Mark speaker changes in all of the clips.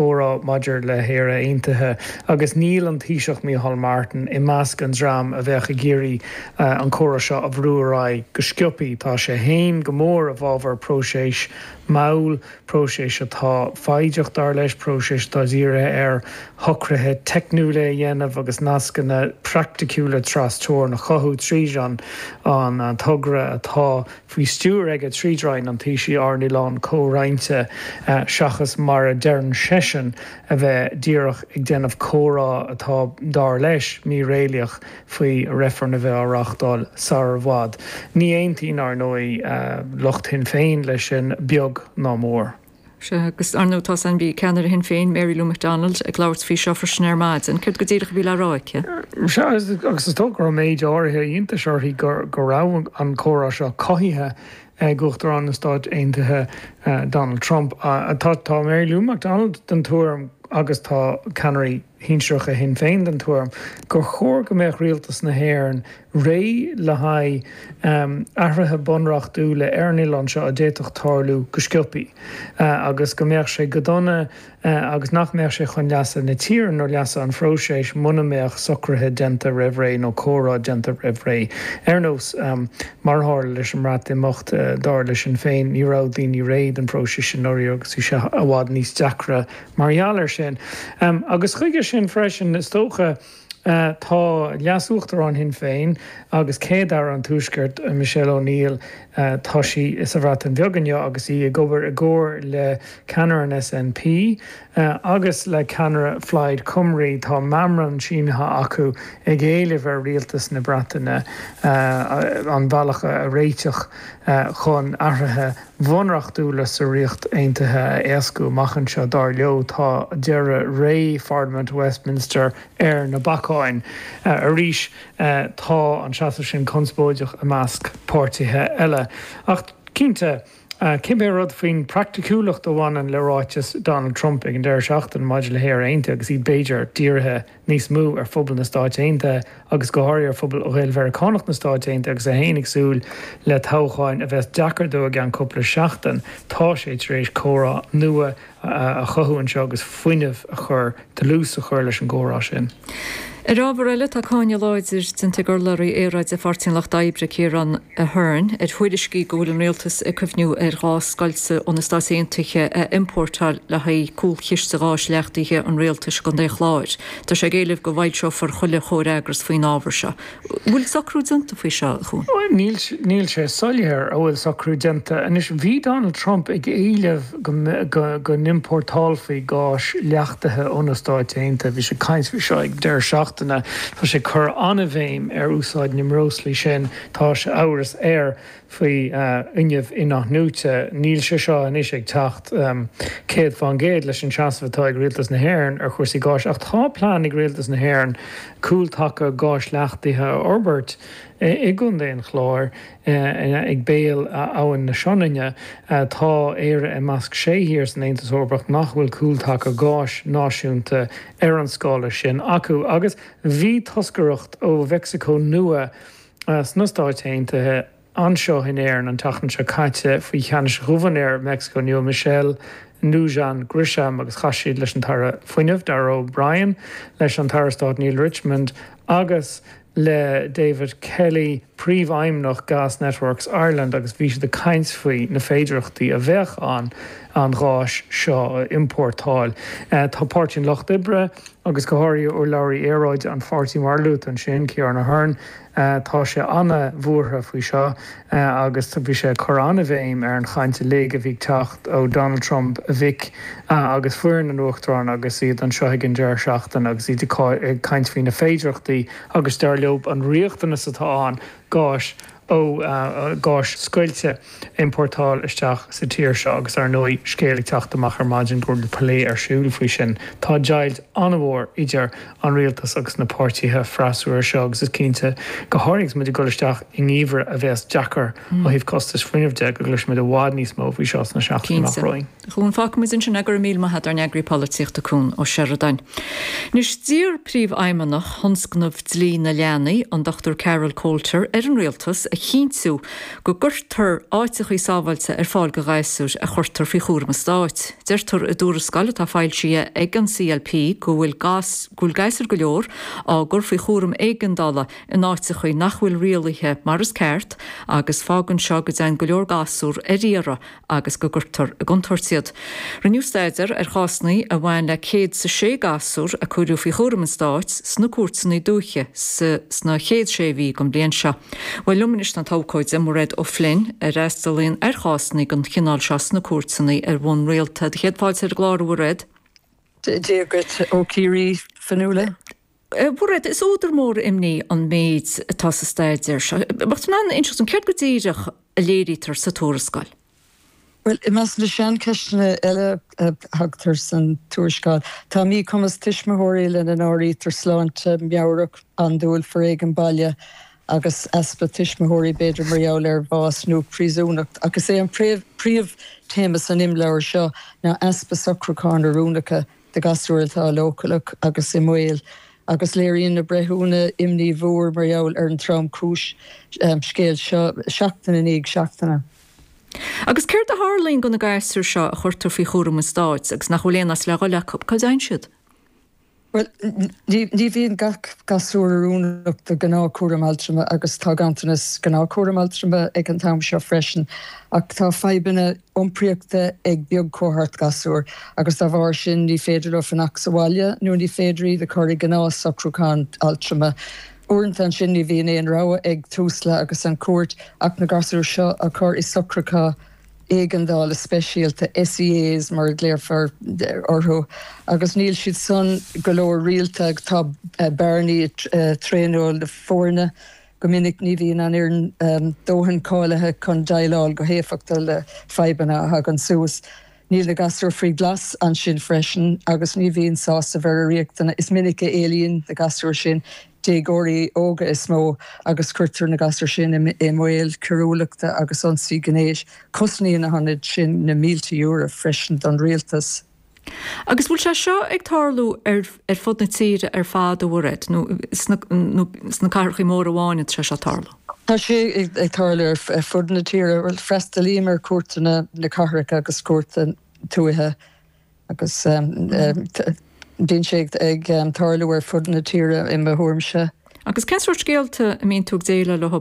Speaker 1: Comhrá maidir le hÉire Aontaithe agus níl an Taoiseach Micheál Martin i measc an dream a bheadh ag iarraidh an comhrá seo a bhrú ar aghaidh go sciobthaí. Tá sé féin go mór i bhfabhar próiseas mall, próiseas atá foighdeach dar leis, próiseas atá dírithe ar shocruithe teicniúla a dhéanamh agus nascanna praiticiúla tras-teorann a chothú tríd an togra atá faoi stiúir aige tríd Roinn an Taoisigh, Ár nOileán Comhroinnte, seachas mar a deireann seisean, a bheith díreach ag déanamh comhrá atá, dar leis, míréalaíoch faoi reifreann a bheith á reáchtáil sar i bhfad. Ní aontaíonn, ar ndóigh, lucht Shinn Féin leis sin, beag ná mór.
Speaker 2: Sea, agus ar ndóigh tá san, bhí ceannaire Shinn Féin, Mary Lou McDonald, ag labhairt faoi seo freisin ar maidin. Céard go díreach a bhí le rá aici?
Speaker 1: Sea, agus is dócha go raibh méid áirithe iontais uirthi go raibh an comhrá seo cothaithe ag Uachtarán na Stát Aontaithe, Donald Trump. Tá Mary Lou McDonald den tuairim, agus tá ceannairí shinsearacha Shinn Féin den tuairim, gur chóir go mbeadh rialtas na hÉireann réidh le haghaidh athruithe bunreachtúla ar an oileán seo a d'fhéadfadh tarlú go sciobthaí agus go mbeadh sé go dona agus nach mbeadh sé chun leasa na tíre nó leasa an phróisis muna mbeadh socruithe déanta roimh ré nó comhrá déanta roimh ré. Ar nós mar a tharla leis an mBreatimeacht, dar le Sinn Féin, ní raibh daoine réidh don phróiseas sin dáiríre agus bhí sé i bhfad níos deacra mar gheall air sin. Agus chuige sin freisin, is dócha, Tá Leas-Uachtarán Shinn Féin agus Céad-Aire an Tuaiscirt, Michelle O'Neill, tá sí sa Bhreatain Bheag inniu agus í ag obair i gcomhar le ceannaire an SNP agus le ceannaire Phlaid Cymru. Tá meamram sínithe acu ag éileamh ar rialtas na Breataine an bealach a réiteach chun athruithe bhunreachtúla sa Ríocht Aontaithe a éascú amach anseo. Dar leo, tá deireadh ré Pharlaimint Westminster ar na bacáin. Arís, tá an seasamh sin conspóideach i measc páirtithe eile. Ach cinnte, cibé rud faoin praiticiúlacht a bhaineann le ráiteas Donald Trump ag an deireadh seachtaine maidir le hÉire Aontaithe agus iad b'fhéidir dírithe níos mó ar phobal na Stáit Aontaithe agus go háirithe ar phobal Ghael-Mheiriceánach na Stáit Aontaithe agus é féin ag súil le toghcháin a bheas deacair dó i gceann cúpla seachtain. Tá sé tar éis comhrá nua a chothú anseo agus fuinneamh a chur, dlús a chur leis an gcomhrá sin.
Speaker 2: Ar ábhar eile, tá cáineadh láidir déanta ag urlabhraí aeráide Pháirtí an Lucht Oibre, Ciarán Ahern, ar thuairiscí go bhfuil an rialtas ag cuimhniú ar ghás scoilte ó na Stáit Aontaithe a iompórtáil le haghaidh cúlchiste gáis leachtaithe an rialtais i gContae an Chláir. Tá sé ag éileamh go bhfoilseofar chuile chomhfhreagras faoin ábhar seo. An bhfuil socrú déanta faoi seo, a Chuain?
Speaker 1: Níl, níl sé soiléir an bhfuil socrú déanta. Anois, bhí Donald Trump ag éileamh go, go, go n-iompórtálfaí gás leachtaithe ó na Stáit Aontaithe. Bhí sé ag caint faoi seo ag deireadh seachtaine. Tá sé ag cur an-bhéim ar úsáid na mbreoslaí sin. Tá sé amhras air faoi fhuinneamh in-athnuaite. Níl sé seo anois ag teacht 100% leis an seasamh atá ag Rialtas na hÉireann ar chúrsaí gáis ach tá plean ag Rialtas na hÉireann cúltaca gáis leachtaithe a fhorbairt i gContae an Chláir ag béal Abhainn na Sionainne. Tá Éire i measc sé thír san Aontas Eorpach nach bhfuil cúltaca gáis náisiúnta ar an scála sin acu agus bhí toscaireacht ó Mheicsiceo Nua sna Stáit Aontaithe anseo in Éirinn an tseachtain seo caite faoi cheannas Ghobharnóir Mheicsiceo Nua, Michelle Lujan Grisham agus chas siad leis an tAire Fuinnimh, Darragh O'Brien, leis an tAire Stáit Neale Richmond agus le David Kelly, Príomhfheidhmeannach Gas Networks Ireland agus bhí siad ag caint faoi na féidearthachtaí a bheadh ann an gháis seo a iompórtáil. Tá Páirtí an Lucht Oibre agus go háirithe urlabhraí aeráide an pháirtí mar a luaigh tú ansin, Ciarán Ahern, tá sé ana-bhuartha faoi seo agus bhí sé ag cur an-bhéim ar an chaint uilig a bhí ag teacht ó Donald Trump, a mhic agus foireann an Uachtaráin agus iad anseo ag an deireadh seachtaine agus iad ag caint faoi na féidearthachtaí agus dar leo an riachtanas atá ann gáis ó gáis scoilte a iompórtáil isteach sa tír seo agus ar ndóigh scéal ag teacht amach ar maidin go bhfuil plé ar siúl faoi sin. Tá deighilt an-mhór idir an rialtas agus na páirtithe freasúra seo agus is cinnte, go háirithe agus muid ag dul isteach i ngeimhreadh a bheas deacair ó thaobh costais fuinnimh de, go gcloisfimid i bhfad níos mó faoi seo sna seachtainí amach romhainn.
Speaker 2: Chuan, fágfaimid ansin é, go raibh míle maith a't, ár n-eagraí polaitíochta Cuan Ó Seireadáin. Anois, d'iarr Príomhfheidhmeannach Thionscnamh Dlí na Leanaí, an Dr Carol Coulter, ar an Rialtas a. chinntiú go gcuirtear áiteachaí sábháilte ar fáil do ghasúir a chuirtear faoi chúram an stáit. Deirtear i dtuarascáil atá foilsithe ag an CLP go bhfuil go bhfuil gasúir go leor á gcur faoi chúram éigeandála in áiteachaí nach bhfuil rialaithe mar is ceart agus fágann seo go dtéann go leor gasúr ar iarraidh agus go gcuirtear i gcontúirt iad. Rinneadh staidéar ar chásanna a bhain le 106 gasúr a cuireadh faoi chúram an Stáit sna cúirteanna dúiche sna chéad sé mhí den bhliain seo. Bhuel, liom anois tá an t-abhcóide, Mairéad O'Flynn, a fhreastalaíonn ar chásanna den chineál seo sna cúirteanna ar bhonn rialta. Do chéad fáilte ar an gclár, a Mhairéad.
Speaker 3: Dia dhuit ó Chiarraí, Fionnuala.
Speaker 2: A Mhairéad, is údar mór imní an méid atá sa staidéar seo. Bheadh tú in ann inseacht dom céard go díreach a léirítear sa tuarascáil?
Speaker 3: Bhuel, i measc na saincheisteanna eile a thagtar san tuarascáil, tá míchumas tuismitheoirí, lena n-áirítear sláinte meabhrach, andúil, foréigean baile agus easpa tuismitheoirí, b'fhéidir mar gheall ar bhás nó príosúnacht. Ach is é an príomhthéama san imleabhar seo ná easpa socrúcháin oiriúnacha do ghasúir atá leochaileach agus i mbaol, agus léiríonn na breithiúna imní mhór mar gheall ar an tromchúis scéal seo seachtain i ndiaidh seachtaine.
Speaker 2: Agus céard a tharlaíonn do na gasúir seo a chuirtear faoi chúram an stáit agus nach bhfuil aon áit le dhul acu? Cá dtéann siad?
Speaker 3: Bhuel, ní bhíonn gach gasúr oiriúnach do ghnáthchúram altrama agus tá ganntanas gnáthchúram altrama ag an t-am seo freisin. Ach tá fadhbanna iompraíochta ag beagchohórt gasúr agus dá bharr sin ní féidir leo fanacht sa bhaile nó ní féidir iad a chur i ngnáthshocrúchán altrama. Uaireanta ansin ní bhíonn aon rogha ag Tusla agus an chúirt ach na gasúir seo a chur i socrúchán éigeandála speisialta, SEAs mar a ghlaofar orthu, agus níl siad san go leor rialta. Tá bearnaí i dtraenáil na foirne. Go minic ní bhíonn an fhoireann dóthain cáilithe chun déileáil go héifeachtach le fadhbanna a thagann suas. Níl na gasúir faoi ghlas ansin freisin agus ní bhíonn sásamh ar a riachtanais. Is minic a éalaíonn na gasúir sin, déagóirí óga is mó, agus cuirtear na gasúir sin i mbaol coiriúlachta agus ionsaí gnéis. Cosnaíonn na hionaid sin na mílte euro freisin don rialtas.
Speaker 2: Agus bhfuil sé seo ag tarlú ar ar fud na tíre ar fad, a Mhairéad, nó sna nó sna cathrachaí móra amháin atá sé seo ag tarlú?
Speaker 3: Tá sé ag tarlú ar fud na tíre. Bhuel, freastalaím ar chúirteanna na cathrach agus cúirteanna tuaithe agus bíonn sé ag tarlú ar fud na tíre i mo thuairimse.
Speaker 2: Agus cén sórt scéalta a mbíonn tú ag déileáil leo, a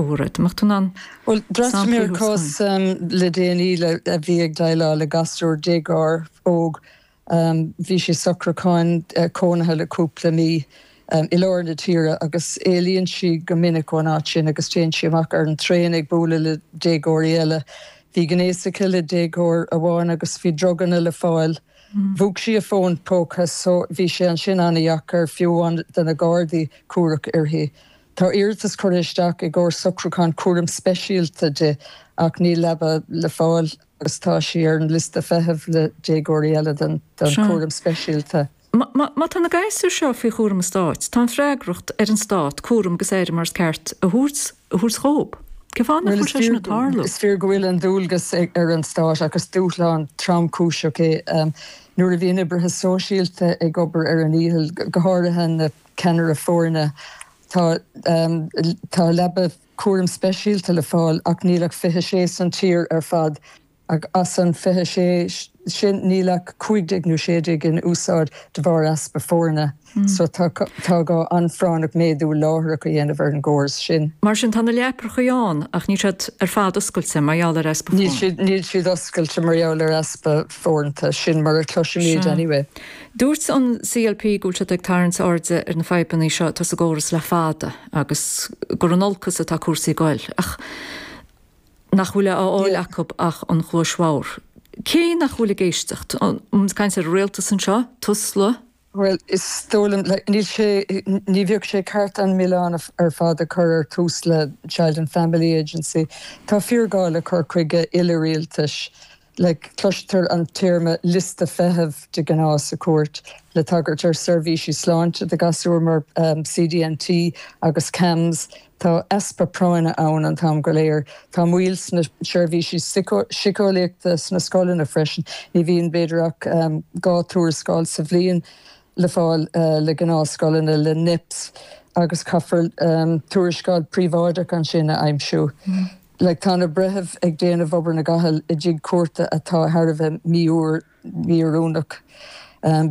Speaker 2: Mhairéad? An mbeadh tú in ann
Speaker 3: Bhuel, d'fhreastail mé ar chás le déanaí le a bhí ag déileáil le gasúr déagóir óg. Bhí sé i socrúchán cónaithe le cúpla mí i lár na tíre agus éalaíonn sí go minic ón áit sin agus téann sí amach ar an traein ag bualadh le déagóirí eile. Bhí gnéas aici le déagóir amháin agus bhí druganna le fáil. Mhúch sí a fón póca so bhí sé ansin an-dheacair, fiú amháin do na Gardaí, cuarach uirthi. Tá iarratas curtha isteach i gcomhair socrúchán cúram speisialta di ach níl leaba le fáil agus tá sí ar an liosta feithimh le déagóirí eile don chúram speisialta.
Speaker 2: Má tá na gasúir seo faoi chúram an Stáit, tá an freagracht ar an Stát cúram agus aire mar is ceart a thabhairt a thabhairt dhóibh. Cén fáth nach bhfuil sé sin ag tarlú?
Speaker 3: Is fíor go bhfuil an dualgas ar an Stát ach is dúshlán tromchúiseach é nuair a bhíonn oibrithe sóisialta ag obair ar a ndícheall, go háirithe na ceannairí foirne. Tá tá leaba cúram speisialta le fáil ach níl ach 26 san tír ar fad. Ach as an 26 sin, níl ach 15 nó 16 in úsáid de bharr easpa foirne. So tá gá an-phráinneach méadú láithreach a dhéanamh ar an gcóras sin.
Speaker 2: Mar sin, tá na leaprachaí ann ach níl siad ar fad oscailte mar gheall ar easpa
Speaker 3: foirne. Níl siad oscailte mar gheall ar easpa foirne, sin mar a chloisimid anyway.
Speaker 2: Dúirt an CLP go bhfuil siad ag tarraingt airde ar na fadhbanna seo atá sa gcóras le fada agus gur in olcas atá cúrsaí ag goil. Ach nach bhfuil á fháil acu ach an chluais bhodhar. Cé nach bhfuil ag éisteacht? An bhfuil muid ag caint ar an rialtas anseo? Tusla?
Speaker 3: Bhuel, is dóigh liom, like, níl sé, ní bheadh sé ceart an milleán ar fad a chur ar Tusla, Child and Family Agency. Tá fíorghá le cur chuige uile-rialtais. Like, cloistear an téarma liosta feithimh de ghnáth sa chúirt le tagairt ar seirbhísí sláinte do ghasúir mar CDNT agus CAMHS. Tá easpa práinne ann an t-am go léir. Tá moill sna seirbhísí síceolaíochta sna scoileanna freisin. Ní bhíonn b'fhéidir ach 2 tuarascáil sa bhliain le fáil le gnáthscoileanna, le NEPS. Agus caithfear tuarascáil príobháideach ansin a aimsiú. Like tá na breithimh ag déanamh obair na gcapall i dtigh cúirte atá thar a bheith mí-oiriúnach.